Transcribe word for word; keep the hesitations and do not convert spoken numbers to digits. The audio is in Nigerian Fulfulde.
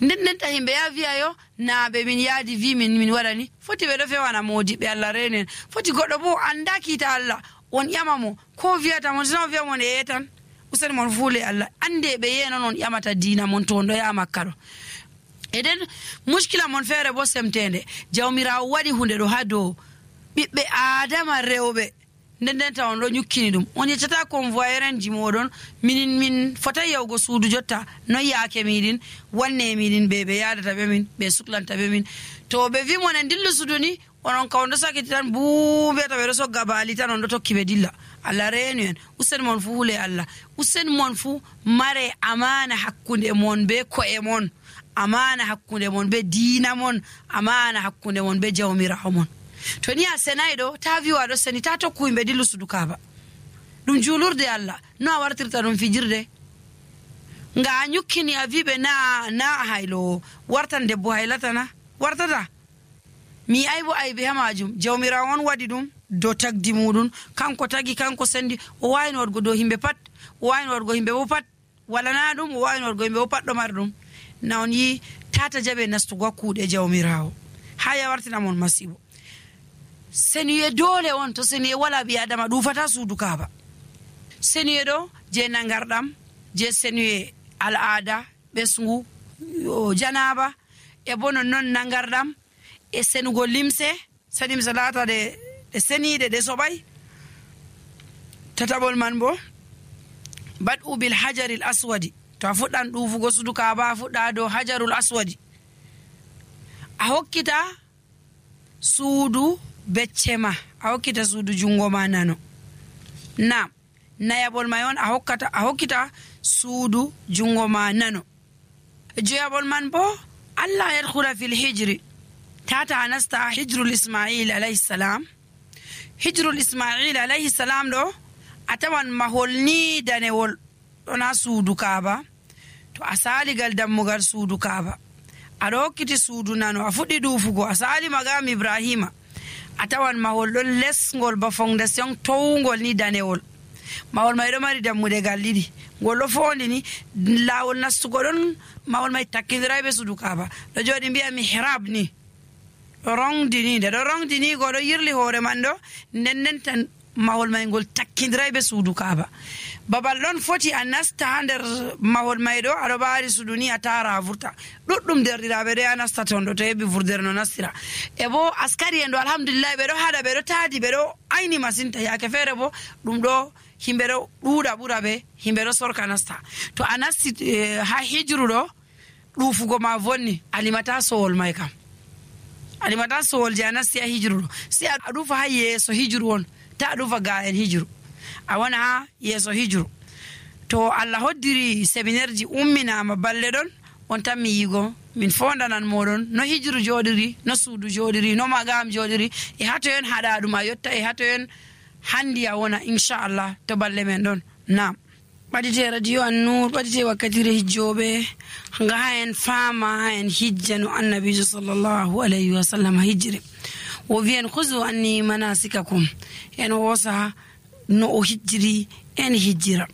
nden nden ta himɓe ya wiyayo naaɓe min yaadi wi min min waɗani foti ɓe ɗo fewana modiɓe Allah renen foti goɗɗo bo anda kiita Allah on ƴama mo ko wiyata mon sino wiya mon e yetan useni mon fuule Allah ande ɓe yenon on ƴamata diina mon to on ɗo ya makka ɗo eden muskila mon feere bo semtende jawmirawo waɗi hunde ɗo ha dow ɓiɓɓe adama rewɓe nden nden ta on ɗo ñukkini ɗum on yeccata convoyeur en ji moɗon minin min fotay yawgo suudu jotta noon yaake miɗin wanne miɗin ɓe ɓe yadata ɓe min ɓe suklanta ɓe min to ɓe wi mon en dillu suudu ni onon ka on ɗo sakiti tan buu mbiyata ɓe ɗo sogga baali tan on ɗo tokki ɓe dilla Allah reenu en usen mon fuu hule Allah usen mon fuu mare amana hakkunde mon be ko'e mon amana hakkunde mon be diina mon amana hakkunde mon be jawmirawo mon to ni a senayi ɗo ta wiwa ɗo seni ta tokku yimɓe dillu sudu kaaba ɗum juulurde Allah no a wartirta ɗum fijirde nga a ñukkini a wiɓe na na a haylo wartan debbo haylatana wartata mi aybo aybe ha majum jawmirawo on waɗi ɗum do tagdi muɗum kanko tagi kanko sendi o wawino waɗgo dow himɓe pat o wawino waɗgo himɓe bo pat walana ɗum o wawino waɗgo himɓe bo pat ɗo mari ɗum na on yi tata jaɓe nastugo kuuɗe jawmirawo ha ya wartina mon masibo seniye dole on to seniye wala ɓi adama ɗufata suudu kaaba seniye ɗo je nangarɗam je seniye al'ada ɓesgu janaba e bo non non nangarɗam e senugo limse sanim salata de de seniide de soɓay tataɓol man bo bad'u bil hajaril aswadi to a fuɗɗan ɗufugo suudu kaaba a fuɗɗa dow hajarul aswadi a hokkita suudu becce ma a hokkita suudu jungo ma nano na nayaɓol may on a hokkata a hokkita suudu jungo ma nano joyaɓol man bo Allah yadkhula fil hijri tata anasta hijrul ismail alayhi salam hijrul ismail alayhi salam ɗo a tawan mahol ni danewol ɗona suudu kaaba to a saligal dammugal suudu kaaba aɗa hokkiti suudu nano a fuɗɗi ɗufugo a sali magam ibrahima a tawan mahol ɗon lesgol ba fondation towgol ni danewol mahol may ɗo mari dammude gal ɗiɗi ngol ɗo fondi ni lawol nastugo ɗon mahol may takkidiray ɓe suudu kaaba ɗo jooɗi mbiya mihrab ni ɗo rongdi ni nde ɗo rongdi ni goɗo yirli hoore man ɗo nden nden tan mahol may ngol takkidiray ɓe suudu kaaba babal ɗon foti a nasta ha nder mahol may ɗo aɗo ɓaari suudu ni a tara a vurta ɗuɗɗum derɗiraɓe ɗo ya nasta ton ɗo to heɓi vurdere no nastira e bo askari en ɗo alhamdulillahi ɓe ɗo haɗa ɓe ɗo taadi ɓe ɗo ayni masinta yaake feere bo ɗum ɗo himɓe ɗo ɗuuɗa ɓura ɓe himɓe ɗo sorka nasta to a nasti ha hijru ɗo ɗufugo ma vonni alimata sowol may kam alimata sowol je a nasti ha hijru ɗo si a ɗufa ha yeeso hijru on ta a ɗufa ga en hijru a wona ha yeeso hijru to Allah hoddiri séminaire ji umminama balle ɗon on tan mi yigo min fondanan moɗon no hijru joɗiri no suudu joɗiri no magam joɗiri e hato en haɗa ɗum a yotta e hato en handi a wona inchallah to balle men ɗon nam ɓaɗite radio An-Nur ɓaɗite wakkatire hijjoɓe nga ha en faama ha en hijja no annabijo sallllahu alayhi wa sallam hijjiri o wiyen husu anni manasikakum en wosa no o hijjiri en hijjira